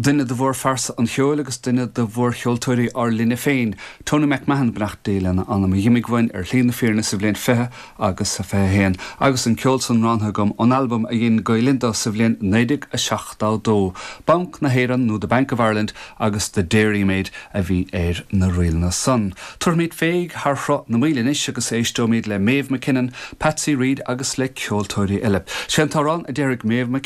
Duine de mhórphearsa an cheoil agus duine de mhórcheoltóirí ár linne féin, Tony MacMahon, beannacht Dé lena anam, a dh'imigh uainn ar shlí na fírinne sa bhliain 20 agus 21, agus an ceol san roghnaithe agam ón albam a dhein Gael Linn dó sa bhliain 1972, Banc na hÉireann nó The Bank of Ireland agus The Dairymaid a bhí ar na ríleanna san. Tabharfaimid féig thar Shruth na Maoile anois agus éisteoimid le Maeve MacKinnon, Patsy Reid agus le ceoltóirí eile. Sé an t-amhrán a déarfaidh Maeve.